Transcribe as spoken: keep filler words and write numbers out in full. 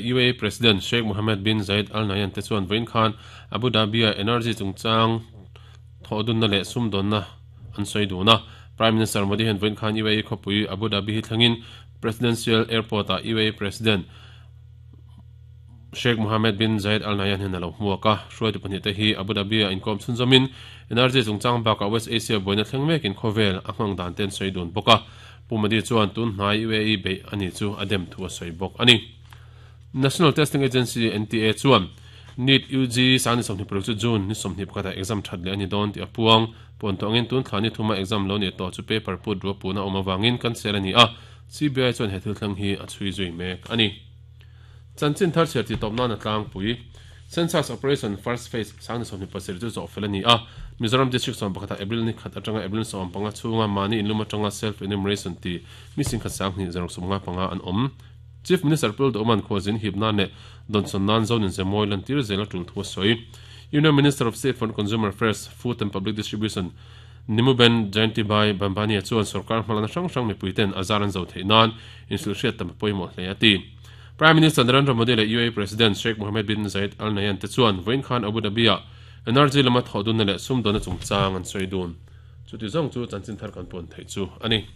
U A E President Sheikh Mohammed bin Zayed Al Nahyan te chuan vawiin khan Abu Dhabi a energy chungchang thawhdunna leh sumdawnna an sawi dun a. Prime Minister Modi hian vawiin khan U A E khawpui Abu Dhabi hi thlengin Presidential Airport ah U A E President Sheikh Mohammed bin Zayed Al Nahyan hian a lo hmuak a. Hruaitu pahnih te hi Abu Dhabi a inkawm chhunzawmin energy chungchang bakah West Asia buaina thleng mekin khawvel a nghang dan te an sawi dun bawk a. Pu Modi chuan tun hnai U A E beih ani chu a dem thu a sawi bawk ani. National Testing Agency N T A chuan NEET U G sangni sawmhnih paruk chu June ni sawmhnih pakhata exam that leh ani dawn tih a puang. Puan tawngin tun thla ni thuma exam lo ni tawh chu paper put rua puna awm awangin cancel ani a. C B I chuan he thil thleng hi a chhui zui mek ani. Chanchin thar chhiar ti tawp nan a tlangpui. Census Operation First Phase sangni sawmhnih pasarih chu zawh fel ani a. Mizoram District sawm pakhata April ni khat atanga April sawm panga chhunga mani inlum atanga self enumeration ti mi sing khat sanghnih zaruk sawmnga panga an awm. Chief Minister Pul Doman Khawzin hipna ne Donson nan zonin zemoi lan tir zela tul thu soi. Union Minister of State for Consumer Affairs, Food and Public Distribution Nimuben Jayanti Bhai Bambani chuan sarkar hmalana hrang hrang mipuiten azaran zo theinan insul hriat tam pawimawh hle ati. Prime Minister Narendra Modi leh U A E President Sheikh Mohammed bin Zayed Al Nahyan te chuan vawiin khan Abu Dhabi a energy lama thawhdunna leh sumdawnna chungchang an sawi dun. Chuti zawng chu chanchin thar kan pawn theih chu ani.